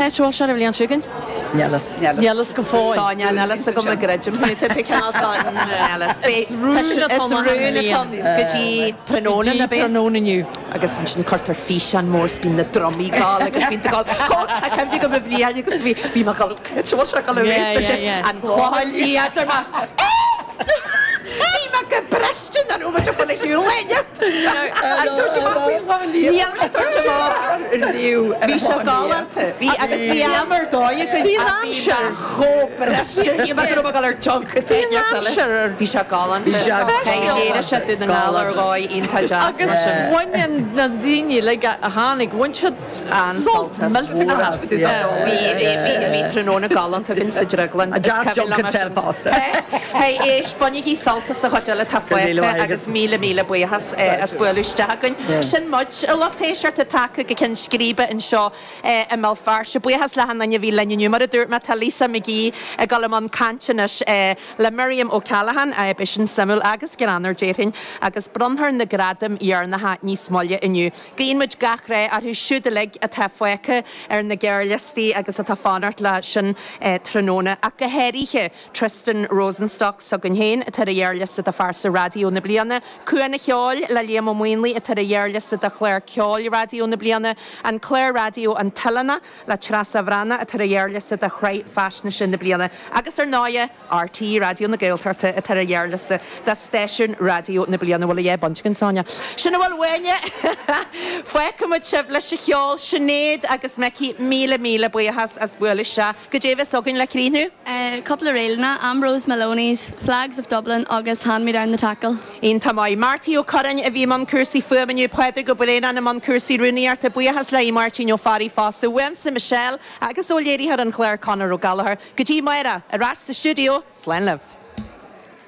Áit a bhfuil sé an bhliain seo chugainn? Níl fhios. Níl fhios go fóill. Sonia, Níl fhios agam an gcreidim thú. Tá tú cineál don Níl fhios. Is rún atá Is rún atá ann go dtí tráthnóna, Go ná dtí bíonn? tráthnóna inniu. Agus ansin cuirtear físeán mór 's bíonn na drumaí ag gabháil agus bíonn tú ag gabháil, Tá cuimhne agam an bhliain agus bhí bhí mé ag gabháil, cá háit a bhfuil sé ag gabháil Yeah, arís? yeah, yeah. An Clochán Liath, dúirt mé, Bhí mé go briste nach raibh muid ag fáil ar shiúl éinne. Níl mé ag tabhairt amach. Bhí sé galánta. Bhí agus bhí am ar dóigh againn ach bhí mé chomh briste. Shíl mé go raibh mé ag dul ar junket éigin eile. Bhí sé galánta. Léirigh sé Dún na nGall ar dhóigh iontach deas Agus mar sin. bhain na daoine uilig a tháinig, bhain siad An-sult millteanach as. Bhí tráthnóna galánta againn sa Drioglann. Is cuimhin liom é sin fosta. Hey, éist, bainigí sult as an chuid eile atá fágtha agus míle míle buíochas as bualadh isteach againn. Sin muid, a lucht éisteachta, tagtha go ceann scríbe anseo i mBéal Feirste. Buíochas le achan duine a bhí linn inniu. Mar a dúirt mé, tá Lisa McGee ag dul i mbun cainte anois le Miriam O'Callaghan, beidh sin suimiúil agus greannmhar déarfainn, agus bronnfar na gradaim dheireanacha níos moille inniu. Guíonn muid gach rath orthu siúd uilig atá fágtha ar na gearrliostaí agus atá fanacht le sin tráthnóna, ach go háirithe Tristan Rosenstock s'againn féin atá ar an ghearrliosta do Phearsa Raidió na Bliana, Cuan an Cheoil le Liam Ó Maonlaí atá ar an ghearrliosta do Chlár Ceoil Raidió na Bliana, an clár raidió An tOileánach le Treasa Bhreathnach atá ar an ghearrliosta do Shraith Faisnéise na Bliana agus ar ndóighe, RTÉ Raidió na Gaeltachta atá ar an ghearrliosta do Stáisiún Raidió na Bliana. Bhfuil a dhath bainte againn, Sonia? Sin a bhfuil uainne! Fágfaidh muid sibh leis an cheol, Sinéad agus Micí, míle míle buíochas as bualadh isteach. Goidé a bheas againn le críochnú? Cúpla ríleanna, Ambrose Maloney's, Flags of Dublin agus Hand Me Down the Tackle. Iontach maith. Marty Ó Curráin a bhí i mbun cúrsaí fuaime inniu, Pádraig Ó Braonáin i mbun cúrsaí rúnaíochta. Buíochas le Aodh Máirtín Ó Fearraigh fosta. Uaimse, Michelle, agus ó léiritheoir an chláir Conor Ó Gallchóir. Go dtí amárach, ar ais sa stiúideo, slán libh.